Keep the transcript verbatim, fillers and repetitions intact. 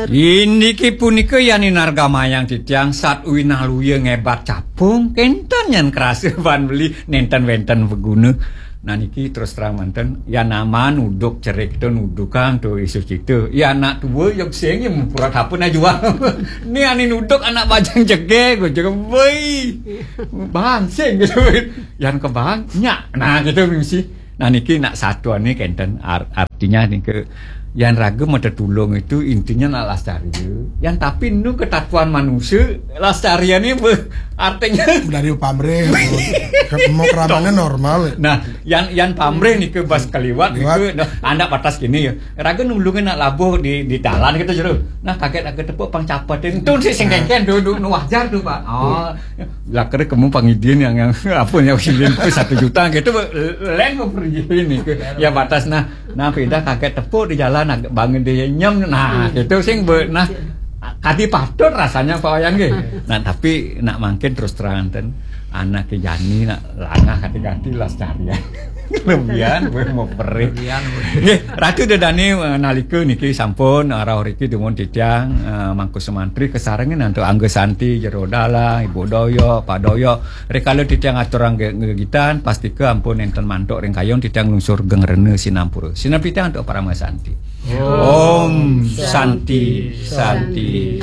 Indiki punika yan inargamayang titiang sat uinaluya ngebat capung, kenten yan krasa ban beli nenten wenten beguna. Nah niki terus terang manten, yan aman uduk cerik tu nudukan tu isu cita. Ya anak tua ya sing ya mupura apa nak jual. Ni ani nuduk anak bajang jege, gua juga boi. Bangsing gitu. Yan ke banyak. Nah gitu mesti. Nah niki nak satuan ni kenten ar- artinya niki yang raga mata tulung itu intinya nak lestari. Yang tapi nu ketatuan manusia lestarian ni ber- artinya dari pamrih. Mau keramannya normal. Nah, yang yang pamrih ni ke bas keliwat ni ke nah, anak batas kini ya. Raga nulungin nak labuh di di dalan kita jeru. Nah kaget raga tepuk pang capatin. Tu si sengkengken duduk nu wajar tu pak. Oh, lah kira kamu pangidin yang yang apa yang satu juta gitu. Lain mau pergi ni ke ya batas nah. Nah, pindah kaget tepuk di jalan agak bangun dia nyem. Nah, itu sing be, nah kadi patut rasanya Pak Wayan nggih. Nah, tapi nak mangkin terus terang ten anak ke jani nak langah kati-kati las carian. Lebihan gue mau perih. Nggih, Ratu Dedani eh, nalika niki sampun eh, rauh riki dumun titiang eh, mangku semantri kesarengin antuk Angga Santi, Jero Dalang, Ibu Doyok, Pak Doyok. Rikala titiang aturang ge- gegitan, pastika ampun enten mantuk ring kayun titiang lungsur geng rena sinampura. Sinampi titiang antuk Parama Santi. Om Santi, Santi,